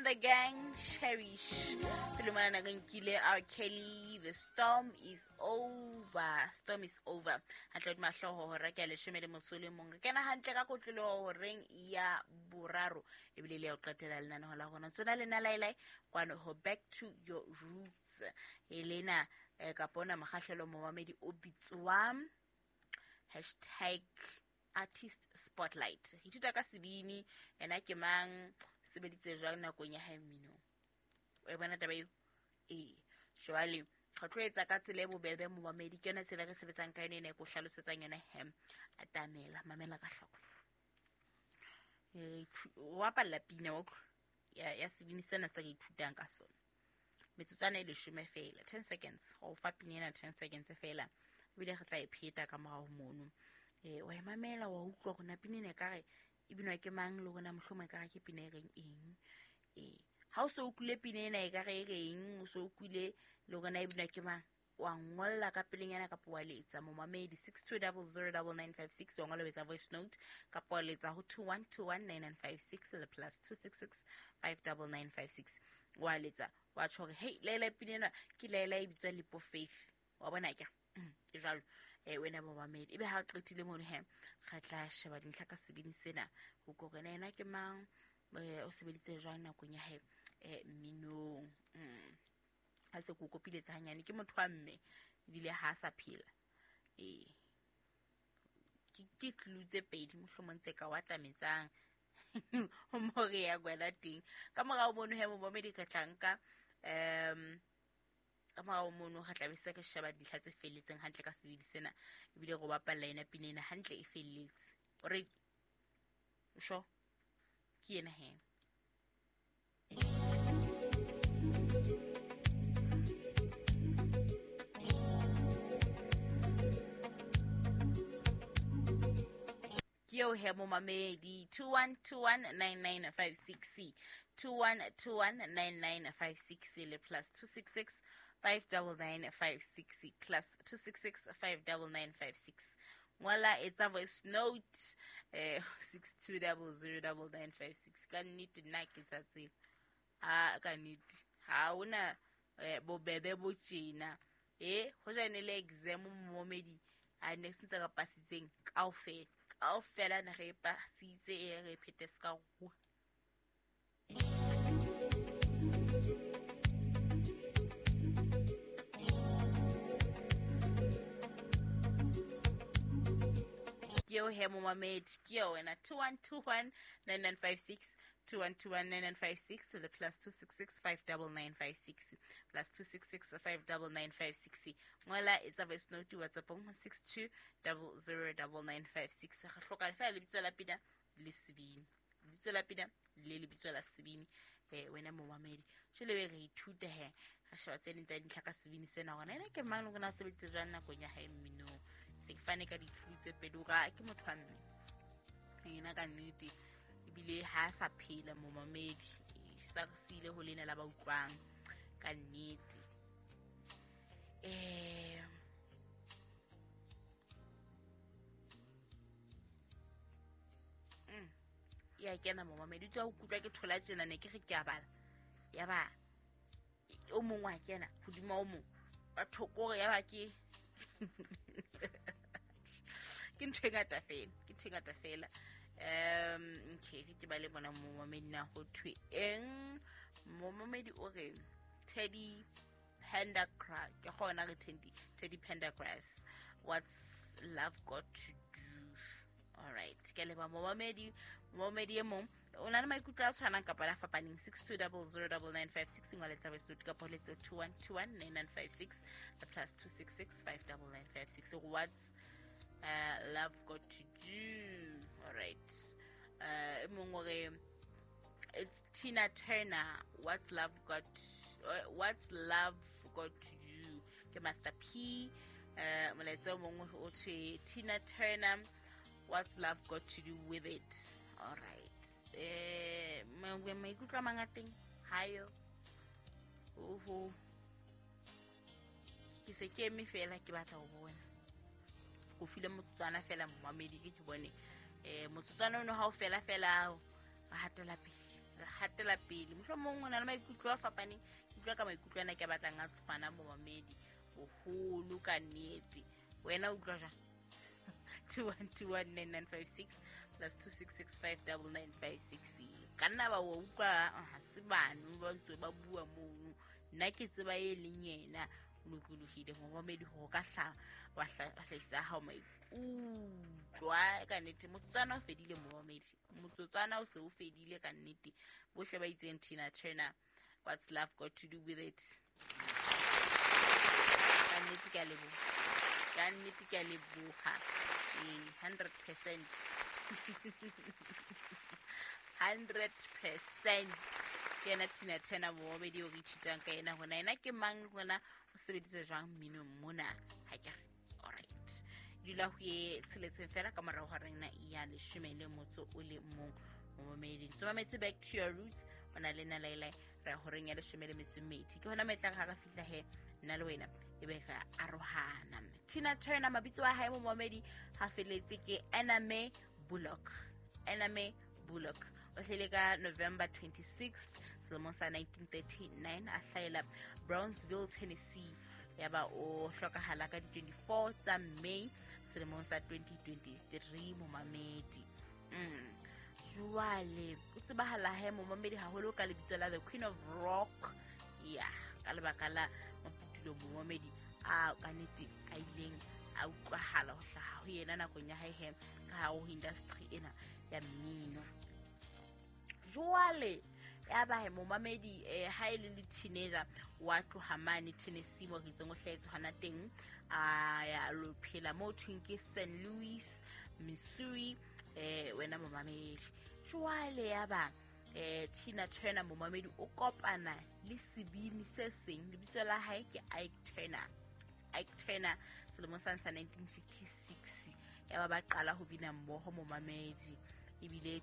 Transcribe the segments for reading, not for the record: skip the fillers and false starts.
and the Gang, Cherish. Pele mona re nkile R. Kelly, The Storm is Over. Storm is Over. Hantle hodima hlooho hora ke ya leshome le motso o le mong. Re kena hantle ka kotloloho horeng ya boraro ebile le ya ho qetela lenaneho la rona. Tsona le nna laelae kwano ho Back to Your Roots. E lena kapa ona mokgahlelo momamedi o bitswang hashtag artist spotlight. Re ithuta ka sebini, ena ke mang, sebeditse jwang nakong ya hae mminong. O e bona taba eo? Ee. Jwale re tlo etsa ka tsela e bobebe momamedi, ke yona tsela e re sebetsang ka yona ena e ko hlalosetsang yona he. Atamela, mamela ka hloko. O bapalla pina wa utlwa ya sebini sena se re ithutang ka sona. Metsotswana e leshome fela, 10 seconds. Go fa pina ena 10 seconds fela. Ebile re tla e pheta ka morao mono. Wa e mamela, wa utlwa hore na pina ena ekare e binwa ke mang, le hore na mohlomong ekare ke pina e reng eng. Ha o so utlwile pina ena ekare e reng, o so utlwile le hore na e binwa ke mang, wa ngolla ka pelenyana kapa wa letsa momamedi 62009956, wa ngola o etsa voice note kapa wa letsa ho 21219956 le plus 266 59956. Wa letsa wa tjho hore hey, laela pina ena ke laela e bitswa Lepo Faith. Wa bona ke? Ke jwalo. Wena momamedi, ebe ha o qetile mono he, re tla sheba dintlha ka sebini sena ho kore na ena ke mang, o sebeditse jwang nakong ya hae mminong. Ha se ko kopiletsa hanyane, ke motho wa mme ebile ha a sa phela. Ke clue tse pedi mohlomong tse ka o atametsang ho mo re ya kwena teng. Ka morao mono he momamedi re tla nka, ka morao mono re tla be se re sheba dintlha tse felletseng hantle ka sebini sena, ebile re o bapalla yona pina ena hantle e felletse. O ready? O sure? Ke ena he. Ke eo he momamedi, 21219956, 21219956 le plus 266 59956, plus 266 59956. Ngola, etsa voice note, 62009956. Ka nnete nna ke tsa tseba. Ha, ka nnete. Ha hona bobebe bo tjena. Hoja ne le exam momamedi, a ne se ntse re pasitseng kaofela. Kaofela ne re pasitse, e re phete se ka ruwa. Ke eo he momamedi, ke eo wena, 21219956, 21219956 le plus 266 59956, plus 266 59956. Ngola, etsa voice note WhatsApp-ong ho 62009956. Re hloka fela lebitso la pina le sebini, lebitso la pina le lebitso la sebini. Wena momamedi, jwale be re ithuta he, re sheba tse ding tsa dintlha ka sebini sena hore na ena ke mang le hore na o sebeditse jwang nakong ya hae mminong. Se ke fane ka di-clue tse pedi hore a ke motho wa mme ena ka nnete, ebile ha a sa phela momamedi, sa re siile ho lena la ba utlwang ka nnete. Ya kena momamedi, o tswa o kutlwa ke thola tjena, ne ke re ke a bala, ya ba o mong wa kena hodima o mong, batho kore ya ba ke ke ntho e ngata fela, ke ntho e ngata fela. Okay, ke ba le bona momamedi na ho thwe eng. Momamedi o re Teddy Pendergrass, ke gona re Teddy Pendergrass, what's love got to do? All right, ke leba momamedi. Momamedi e mong o na le maikutlo a tshwanang kapa la fapaneng, 62009956, ngwa letsa voice note kapa o letse 21219956 plus 266 59956. What's love got to do? All right. E mong o re it's Tina Turner, what's love got to do? Ke Master P. Molaetsa o mong o thwe Tina Turner, what's love got to do with it? All right. Maikutlo a mangateng hayo. Oho, ke se ke eme fela ke batla ho bona. Ko file motsotswana fela momamedi, ke bone. Motsotswana ono ha o fela fela, re hatela pele. Re hatela pele. Mohlomong o na le maikutlo a fapaneng, ke utlwa ka maikutlo ana ke a batlang a tshwana momamedi boholo ka nnete. Wena o utlwa jwang? 21219956 plus 26659956. Ka nna ba wa utlwa ha se bano ba ntse ba bua mono. Nna ke tseba e leng yena o lokolohile momamedi hore ka hla wa hlahisa hao maikutlo ka nnete. Motsotswana o fedile momamedi, motsotswana o se o fedile ka nnete. Bohle ba itseng Tina Turner, what's love got to do with it? Ka nnete ke a leboha, ka nnete ke a leboha. 100%. 100%. Ke yena Tina Turner momamedi o re ithutang ka yena hona yena ke mang le hona o sebedisa jwang mminong mona. Ha ke re alright, dula ho ye tsheletseng fela ka morao ho rena ya 11 momamedi. So mametse Back to Your Roots o na le nna Laila re horeng ya 12. Ke hona metlang ha ka fihla he nna le wena e be re arohana. Tina Turner mabitso a hae momamedi ha feletse ke Anna Mae Bullock. Anna Mae Bullock o hlahile ka November 26 selemong sa 1939, a hlahela Brownsville, Tennessee. Ya ba o hlokahala ka di 24 tsa May selemong sa 2023 momamedi. Jwale o tsebahala he momamedi haholo ka lebitso la The Queen of Rock. Ya ka lebaka la maputulo momamedi a ka nnete a ileng a utlwahala ho hlaha ho yena nakong ya hae he ka hare ho industry ena ya mmino. Jwale ya ba he momamedi ha e le le teenager wa tloha mane Tennessee mo re itseng o hlahetse hona teng, a ya lo phela mo thweng ke St. Louis, Missouri. Wena momamedi jwale ya ba Tina Turner momamedi o kopana le sebini se seng, lebitso la hae ke Ike Turner. Ike Turner selemong sa 1956 ya ba ba qala ho bina mmoho momamedi. Ebile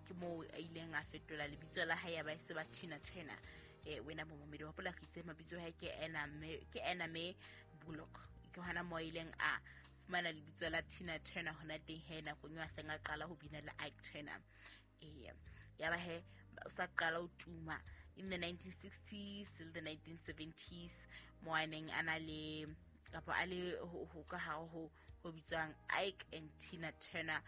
ke moo a ileng a fetola lebitso la hae ya ba se ba Tina Turner. Wena momamedi wa hopola re itse mabitso a hae ke Anna Mae Bullock. Ke hona moo a ileng a fumana lebitso la Tina Turner hona teng he nakong eo a seng a qala ho bina le Ike Turner. Ya ba he o sa qala ho tuma in the 1960s till the 1970s mo a neng a na le kapa a le ho ka hare ho bitswang Ike and Tina Turner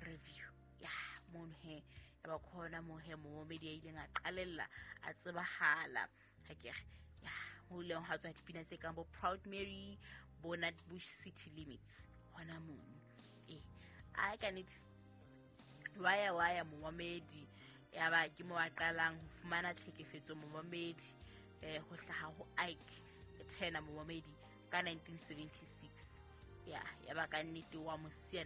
Review. Ya mono he ya ba khona mo he momamedi a ileng a qalella a tsebahala. Ha ke re ya mo ileng ha tswa dipina tse kang bo Proud Mary, bo Nutbush City Limits hona mono. A ka nnete waya momamedi ya ba ke mo a qalang ho fumana tlhekefetso momamedi ho hlaha ho Ike Turner momamedi ka 1976. Ya ba ka nnete wa mosia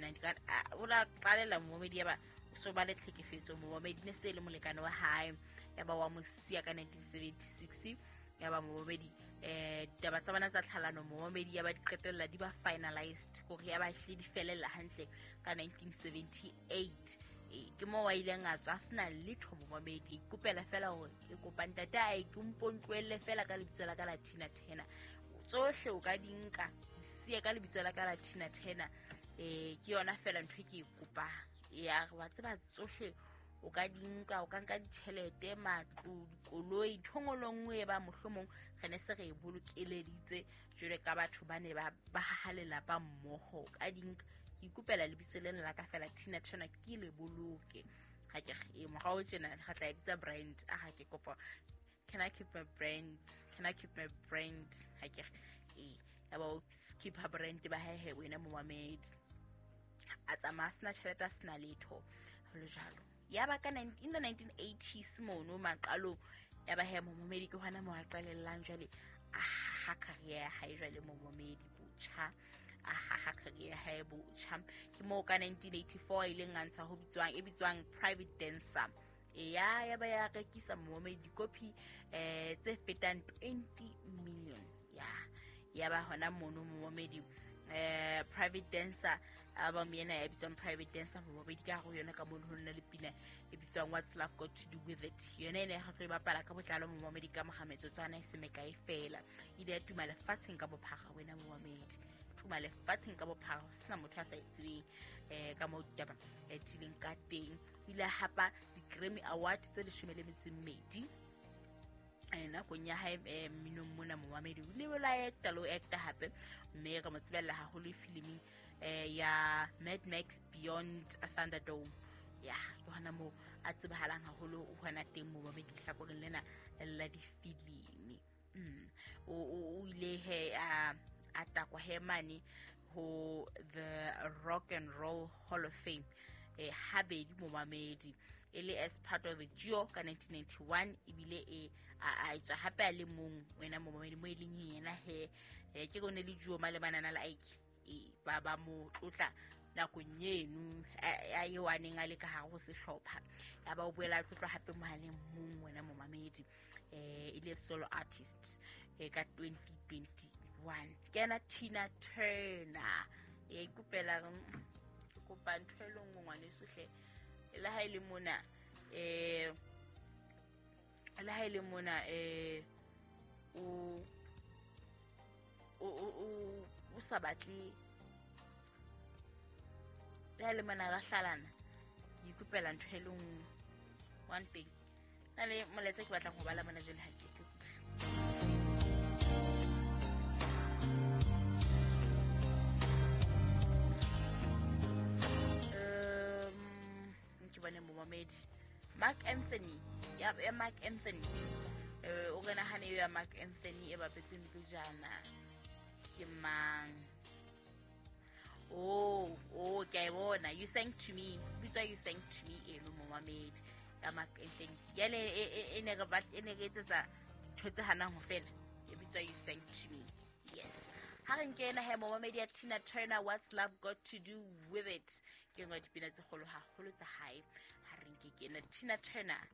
o la qalela momamedi ya ba o so ba le tlhekefetso momamedi ne se le molekane wa hae ya ba wa mosia ka 1976. Ya ba momamedi ditaba tsa bona tsa tlhalano momamedi ya ba di qetella di ba finalized kore ya ba hle di felella hantle ka 1978. Ke mo wa ileng a tswa sena letho momamedi, ikopela fela hore ke kopa ntate a ke mpontlohelle fela ka lebitso la ka la Tina Turner. Tsohle o ka di nka siye ka lebitso la ka la Tina Turner. Ke yona fela ntho e ke e kopang. Ya wa tseba tsohle o ka di nka, o ka nka ditjhelete, matlo, dikoloi, ntho e nngwe le nngwe e ba mohlomong re ne se re e bolokeleditse jwale ka batho ba ne ba haha lelapa mmoho. O ka di nka, ke ikopela lebitso lena la ka fela Tina Turner ke le boloke. Ha ke re morao tjena re tla e bitsa brand. A ha ke kopa, can I keep my brand? Can I keep my brand? Ha ke re ya ba o keep her brand ba hae he wena momamedi. A tsamaya sena tjhelete a sena letho le jwalo. Ya ba ka in the 1980s mono maqalong ya ba he momamedi ke hona mo a qalellang jwale a haha career ya hae jwale momamedi botjha. A haha career ya hae botjha. Ke moo ka 1984 a ileng a ntsha ho bitswang e bitswang Private Dancer. Ya ba ya rekisa momamedi dikopi tse fetang 20 million. Ya ba hona mono momamedi Private Dancer album yena ya bitswang Private Dancer momamedi ka hare ho yona ka mono ho nna le pina e bitswang What's Love Got to Do With It. Yona ene ga tlo e bapala ka botlalo momamedi ka moga metsotswana e se mekae fela. Ile ya tuma lefatsheng ka bophara wena momamedi. tuma lefatsheng ka bophara, ho sena motho a sa e tsebeng ka moo ditaba tileng ka teng. O ile a hapa di-Grammy Award tse 12 nakong ya hae mminong mona momamedi. O ile la acta le ho acta hape, mme re mo tsebella haholo filiming ya Mad Max Beyond Thunderdome. Ya ke hona moo a tsebahalang haholo hona teng momamedi lehlakoreng lena la difilimi. O ile he a takwa he mane ho the Rock and Roll Hall of Fame habedi momamedi, e le as part of the duo ka 1991, ebile e a etswa hape a le mong wena momamedi mo e leng yena he ke kone le duo malebana le Ike ba ba mo tlotla nakong eno a eo a neng a le ka hare ho sehlopha, ya ba o boela a tlotlwa hape mohaleng mong wena momamedi e le solo artist ka 2021. Ke ena Tina Turner. E ikopela ke kopa ntho e le nngwe ngwaneso hle, le ha e le mona le ha e le mona o sa batle, le ha e le mona ra hlalana, ke ikopela ntho e le nngwe, one thing. Na le molaetsa ke batlang ho bala mona jwale, ha ke tle. Ke bone momamedi Mark Anthony ya Mark Anthony o re nahane ya Mark Anthony e bapetseng pejana ke mang? Oh, ke a e bona, You Sang to Me, bitswa You Sang to Me eno momamedi ya Mark Anthony. Yale e ne re batla e ne re etsetsa dintho tse hanang ho fela, e bitswa You Sang to Me. Yes, ha re nke ena he momamedi ya Tina Turner, What's Love Got to Do With It, ke nngwe ya dipina tse kgolo haholo tsa hae. Ha re nke ke ena Tina Turner.